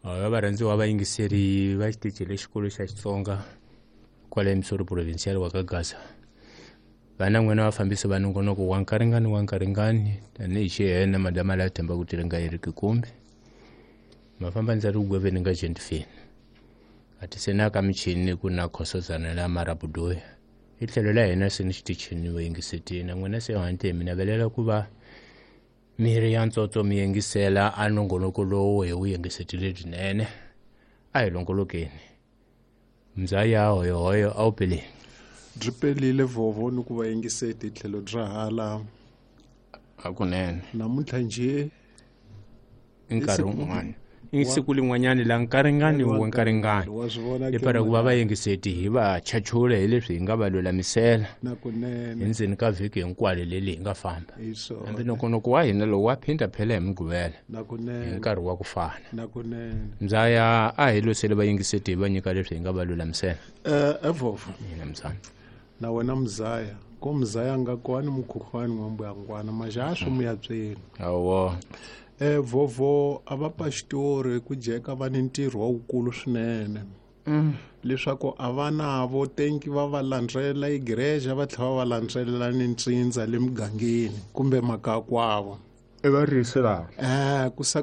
Va varhandziwa vayingiseri va xitichi lexikulu xa Xitsonga kwale Missouri Provincial wa ka Gaza. Vana n'wina vafambisi va nongonoko wa nkaringani wa nkaringani tanihi xihena madama la themba ku tiringa yi ri kikumbi. Mafamba ndza ri gweveni nga gentifini. Ati se na ka michini ku na khosozana la marabudoya. Hi tlhelo la hina se ni xitichini vayingisetini na n'wina se hante mi navelela ku va miri ya ntsotso mi yingisela a nongonoko lowu hi wu yingisetile byinene a hi longolokeni mzaya hoyohoyo a wu peleni byi pelile vovo ni ku va yingiseti hi tlhelo bya hala hakunene namuntlha njhe i nkarhi wun'wana i siku lin'wanyani la nkaringani wa nkaringani wa swi vona i para ku va vayingiseti hi va chachula hi leswi hi nga va lulamisela nakunene hi ndzeni ka vhiki hinkwalo leli hi nga famba hi swona hambi nongonoko wa hina lowu wa phinda phela hi mugqivela hi nakunene nkarhi wa ku fana nakunene mzaya a hi losele vayingiseti hi va nyika leswi hi nga va lulamisela evovo hina mzana na wena mzaya ko mzaya nga kwani mukhuhlwani n'wa mbuyangwana maxa swi muyatsweni awo vovo a va pastori ku jeka va ni ntirho wa wukulu swinene leswaku a va navo tenki va va landzelela igreja va tlhela va va landzelela ni ntsindza le mugangeni kumbe makakwavo i varisi lava ku saka